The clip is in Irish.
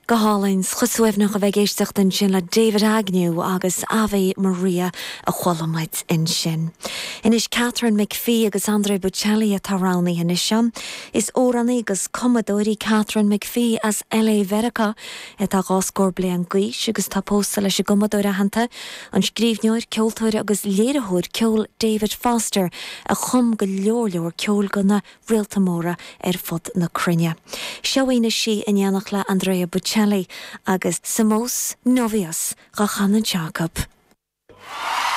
Go hálainn, 's chomh suaimhneach a bheith ag éisteacht ansin le David Agnew agus Ave Maria a chuala muid ansin. Anois Katharine McPhee agus Andrea Bocelli atá roghnaithe anois agam. Is amhránaí agus cumadóir í Katharine McPhee as LA Mheiriceá atá dhá scór bliain d'aois agus tá pósta leis an gcumadóir aitheanta, an scríbhneoir, ceoltóir agus léiritheoir ceoil David Foster a chum go leor leor ceoil do na réalta móra ar fud na cruinne. Seo í anois í in éineacht le Andrea Bocelli agus Somos Novios dhá chanadh anseo acu.